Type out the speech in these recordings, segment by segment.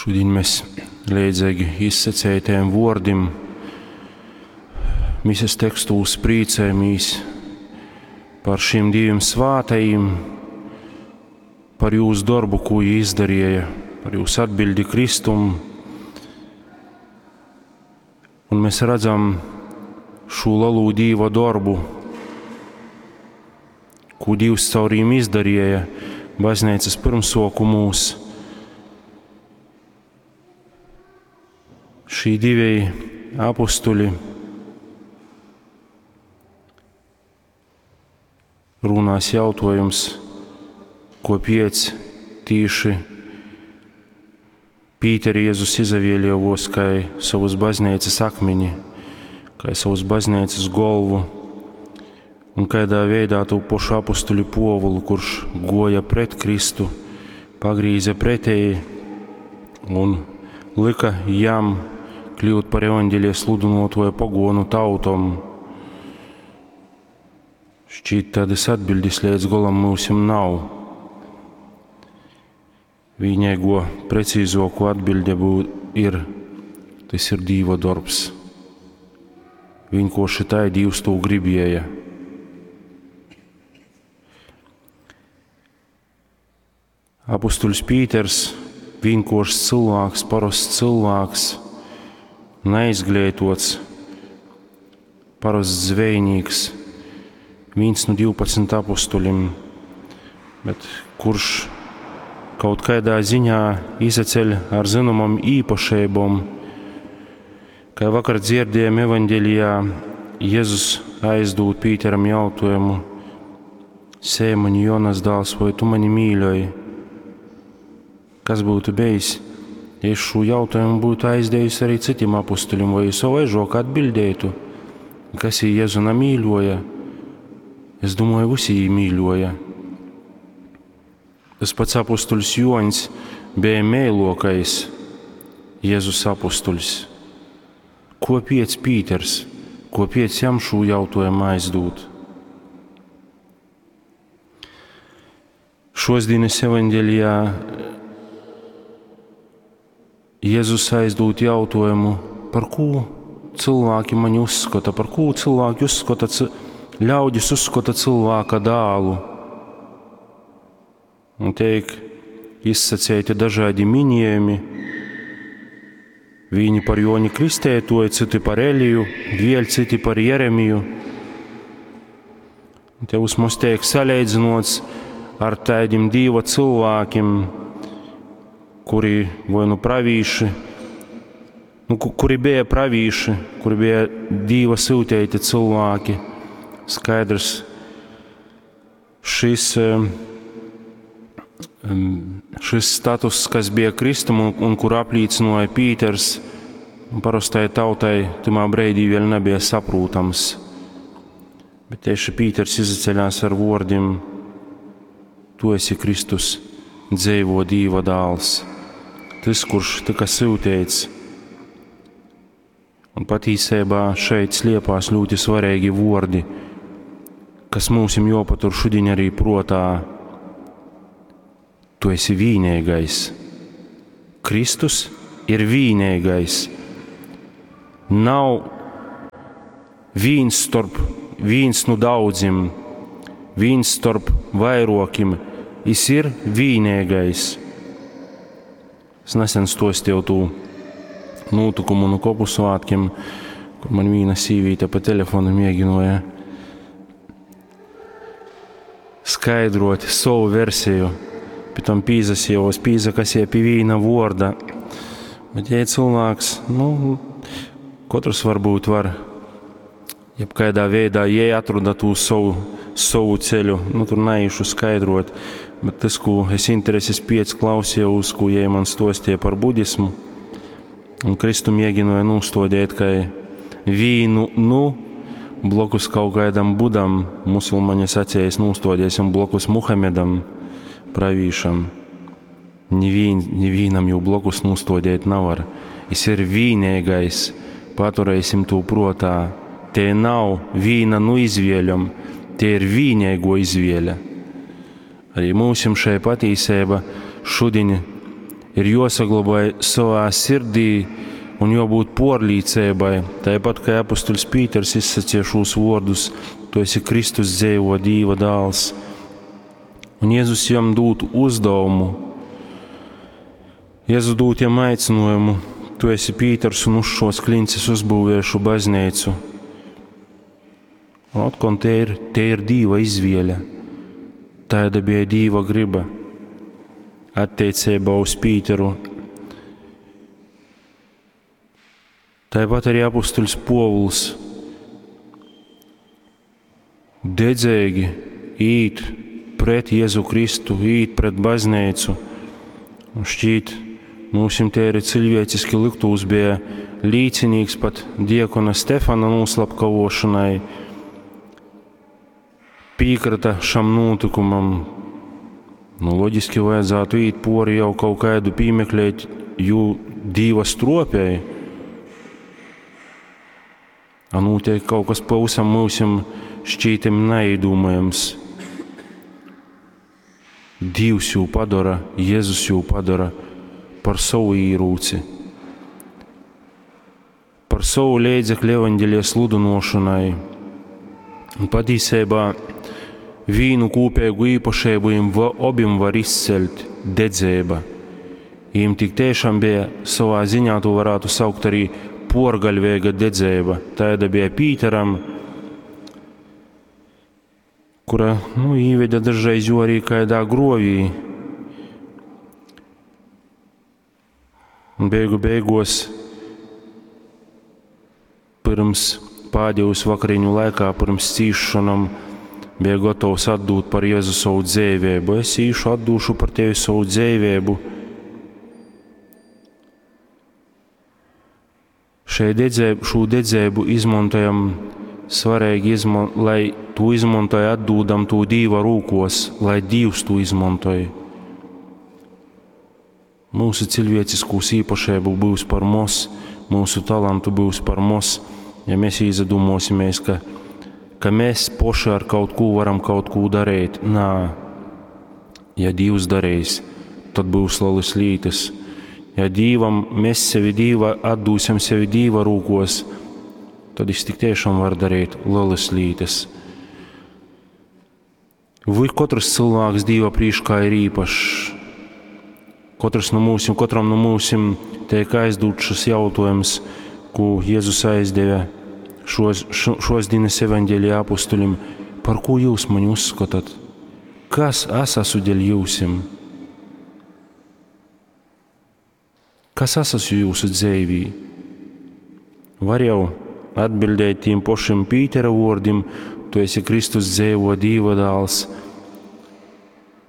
Šudiņ mes leidzeigi izsaceitajiem vuordim mises tekstūs prīcojamīs par šīm divim svātajim, par jūs dorbu, ko jī izdarīja, par jūs atbildi Kristum. Un mēs redzam šo lielo Dīva darbu, ko Dievs caur viņiem izdarīja baznīcas pirmsokumūs. Šī divi apustuļi runās jautājums, kopiec tīši Pīteri Jēzus izavēlievos kai savus baznīcas akmeni, kai savus baznīcas golvu, un kādā veidā tū pošu apustuļu Povulu, kurš goja pret Kristu, pagrīze pretēji un lika jam kļūt par evaņģēlijas sludynuotoju pagonu tautom. Šķiet, tādas atbildes līdz golam mūsim nav. Vienīgo precīzāko atbilde bū, ir, tas ir Dīva darbs. Vienkārši tā Dievs to gribēja. Apustuļs Pīters, vienkāršs cilvēks, parasts cilvēks, neizglītots, parasts zvejnieks, viens no 12 apustuļiem, bet kurš kaut kādā ziņā izaceļ ar zināmām īpašībām. Kā vakar dzirdējām evaņģēlijā, Jēzus aizdod Pīteram jautājumu: Sēmaņa Jonas dēls, vai tu mani mīļoji? Kas būtu bijis, ja es šo jautājumu būtu aizdevis arī citiem apustuļiem, vai savaižok atbildētu, kas ir Jēzu nemīļoja? Es domāju, visi jī mīļoja. Tas pats apustuļs Joņs bija mēlokais Jēzus apustuļs. Ko piec Pīters, ko piec jam šo jautājumu aizdūt? Šosdienas evaņģēlijā Jēzus aizdūt jautājumu, par ko cilvēki mani uzskata, par ko cilvēki uzskata, ļaudis uzskata cilvēka dālu. Un tiek izsacēti dažādi minējumi. Viņi par Joni Kristētoju, citi par Eliju, vēl citi par Jeremiju. Un te mums tiek salīdzinots ar tādiem Dieva cilvēkiem, kuri vai nu pravīši, nu, kuri bija pravīši, kuri bija Dieva sūtīti cilvēki. Skaidrs, šis, šis status, kas bija Kristum un, un kur apliecināja Pīters, parastai tautai timā breidī vēl nebija saprotams. Bet tieši Pīters izaceļās ar vārdiem: Tu esi Kristus, dzīvo Dieva dēls, tas, kurš tika sūtīts. Un patīsībā šeit sliepās ļoti svarīgi vārdi, kas mums ir jāpatur šodien arī protā. Tu esi vienīgais. Kristus ir vienīgais. Nav viens starp viens no daudziem, viens starp vairokim. Jis ir vienīgais. Es nesen stostīju tū notikumu no kopu svētkiem, kur man viena sīvīte pa telefonu mēģināja skaidrot savu versiju. Pie tam pīzasījos, pīzakasie pie vīna vorda. Bet, ja cilvēks, nu, katrs varbūt var jebkādā veidā, ja atrada tū savu, savu ceļu, nu, tur neiešu skaidrot. Bet tas, ko es intereses piec klausījos, ko jie man stostīja par budismu, un Kristu mēģināja nostodēt, kā vīnu, nu, blokus kaut kādam budam, musulmaņi sacījis, nostodēsim blokus Muhamedam, pravīšam. Nivīn, nivīnam jau blokus nostodēt nevar. Es ir vienīgais, paturēsim to protā. Te nav vīna nu izvēļam, te ir vienīgo izvēle. Arī mūsim šai patīsība šodien ir juosagloboj sovā sirdī un juobūt puorlīceibai, taipat kai apustuļs Pīters izsaceja šūs vuordus: Tu esi Kristus dzeivuo Dīva dāls. Un Jezus jam dūd uzdevumu. Jezus dūd jam aicinājumu: Tu esi Pīters, un uz šos klinces uzbūvēšu baznīcu. Un otkon te ir Dīva izvēle. Tāda bija Dīva griba attiecībā uz Pīteru. Tāpat arī apustuļs Povuls dedzīgi īt pret Jēzu Kristu, īt pret baznīcu. Un šķiet, mums te arī cilvēciski liktūs bija līcinīgs pat diekona Stefana noslapkavošanai, piekrita šam notikumam. Nu, loģiski vajadzētu īt pori jau kaut kādu piemeklēt, jo Dīva stropēja. A notiek kaut kas pavisam mūsim šķītam neiedomājams. Dievs jū padara, Jēzus jū padara par savu īrūci, par savu līdzekļu evaņģēlija sludinošanai. Un patiesībā vīnu kopīgu īpašību viņiem abiem var izcelt dedzēba. Viņiem tik tiešām bija savā ziņā, to varētu saukt arī porgaļvēga dedzēba. Tāda bija Pīteram, kura, nu, īveda dažreiz jo arī kādā grovī. Un beigu beigos pirms pēdējos vakariņu laikā, pirms cīšanām, bija gatavs atdūt par Jēzu savu dzīvību. Es īšu atdūšu par tevi savu dzīvību. Šo dedzēbu izmantojam svarīgi, lai to izmantoja, atdūdam to Dīva rūkos, lai Dievs to izmantoja. Mūsu cilvēciskūs īpašību būs par mos, mūsu talantu būs par mos, ja mēs izadomosimies, ka mēs poši ar kaut ko varam kaut ko darīt. Nā, ja Dievs darīs, tad būs lielas lietas. Ja Dievam mēs sevi Dieva atdūsim sevi Dieva rūkos, tad viņš tik tiešām var darīt lielas lietas. Vai katrs cilvēks Dieva priekšā ir īpašs? Katrs no mūsim, katram no mūsim tiek aizdots šis jautājums, ko Jēzus aizdeva šos dienas evaņģēlija apustuļim: par ko jūs mani uzskatāt? Kas es esmu dēļ jūsim? Kas es esmu jūsu dzīvī? Var jau atbildēt tiem pašiem Pītera vārdiem: tu esi Kristus dzīvo Dieva dēls,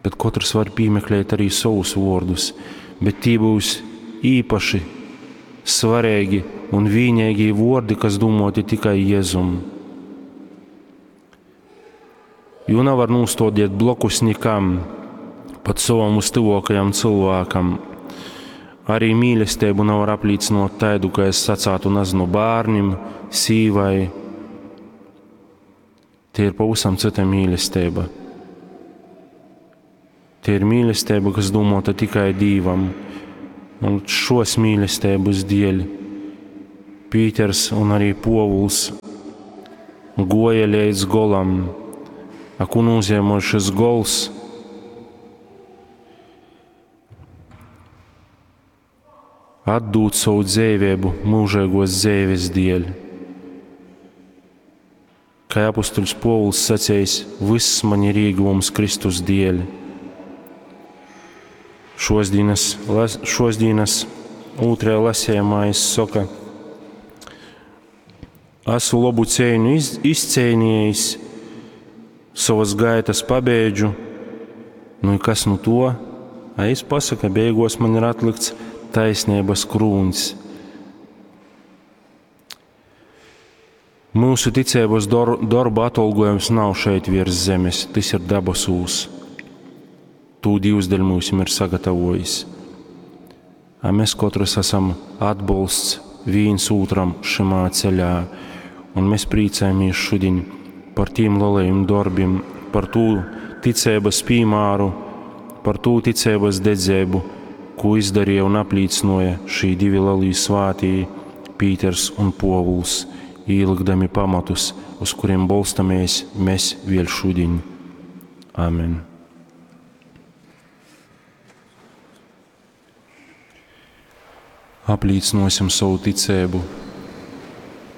bet katrs var piemeklēt arī savus vārdus, bet tie būs īpaši svarīgi un vienīgi vārdi, kas domāti tikai Jēzum. Jo nevar nostodiet blokus nekam, pat savam uztuvākajam cilvēkam. Arī mīlestību nevar apliecinot tādu, ka es sacātu, nezinu, bērnim, sīvai. Tie ir pavisam cita mīlestība. Tie ir mīlestība, kas domāta tikai Dievam. Un šos mīlestības dēļ Pīters un arī Povuls goja līdz golam. A ko nozīmē šis gols? Atdūt savu dzīvību mūžīgos dzīves dēļ. Kā apustuļs Povuls sacījis, viss man ir ieguvums Kristus dēļ. Šos dienas otrajā lasījumā es saka, esmu labu cīņu izcīnījis, savas gaitas pabeidžu, nu i kas nu to? A es pasaka, beigos man ir atlikts taisnības krūns. Mūsu ticības darba atalgojums nav šeit virs zemes, tas ir debesūs. Tū Dievs dēļ mūsim ir sagatavojis. A mēs katrs esam atbalsts viens otram šimā ceļā, un mēs priecājamies šodien par tiem lielajiem darbiem, par tū ticības piemēru, par tū ticības dedzību, kū izdarīja un aplīcynuoja šī divi lelī svātī, Pīters un Puovuls, īlykdami pamatus, uz kurim bolstamēs mes vēļ šudiņ. Amen. Aplīcynuosim sovu ticeibu.